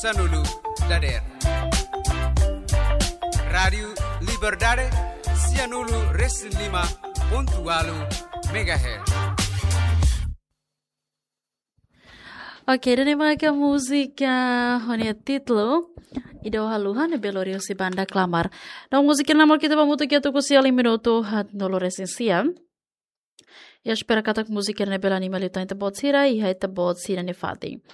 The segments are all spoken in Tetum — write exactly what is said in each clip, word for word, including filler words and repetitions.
Sanulu dader. Rádiu Liberdade, sianulu resin lima pontu walu megahertz. Oke, ida-ne'e maka múzika ho nia títulu Ida Haluha ne'ebé lori husi banda Klamar. No múzika ne'e mak ita hamutuk iha tuku sia liu minutu haat-nulu resin sia. Espera katak múzika ne'e bele anima liután ita-boot sira iha ita-boot sira-nia fatin.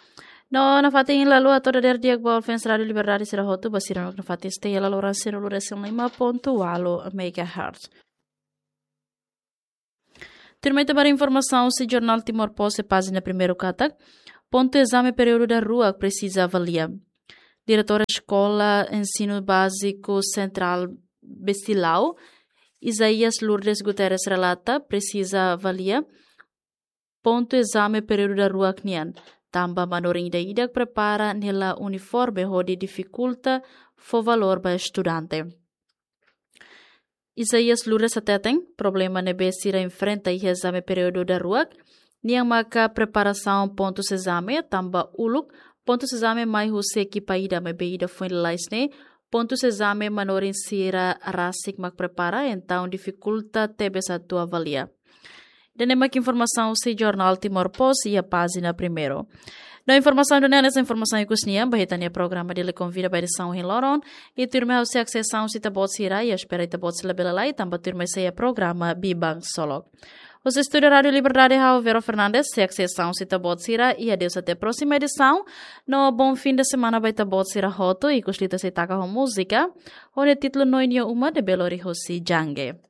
No nafatin lalu hato'o dadeer di'ak ba fans Rádiu Liberdade sira hotu, ba sira-nia fatin stay iha laloran sianulu resin lima pontu walu megahertz. Tuirmai ita bá ba informasaun husi Jornál Timor Post iha pájina primeiru katak, pontu ezame períodu daruak presiza avalia. Diretór Eskola Ensinu Báziku Sentrál Bestilau, Isaias Lourdes Guterres relata, presiza avalia pontu ezame períodu daruak nian, tanba manorin ida-idak prepara ne'e la uniforme hodi difikulta fó valór ba estudante. Isaias Lourdes hateten, problema ne'ebé sira enfrenta iha ezame períodu daruak nian maka preparasaun pontus ezame, tanba uluk pontus ezame mai husi ekipa ida, maibé ida foin lalais ne'e pontus ezame manorin sira rasik mak prepara, entaun difikulta tebes atu avalia. Ida-ne'e mak informasaun husi Jornál Timor Post iha pájina primeiru. No informasaun ida-ne'e hanesan informasaun ikus nian ba ita-nia programa Dili Konvida ba edisaun ohin loron. I tuirmai ha'u sei haksesaun husi ita-boot sira, i espera ita-boot sira labele lalais, tanba tuirmai sei iha programa Biban Ksolok. Husi estúdiu Rádiu Liberdade ha'u Vero Fernandes sei haksesaun husi ita-boot sira, i adeus até próxima edição. No bom fim de semana ba ita-boot sira hotu, ikus liu ita sei taka ho múzika ho nia títulu Noin Nia Uma ne'ebé lori husi Jangge.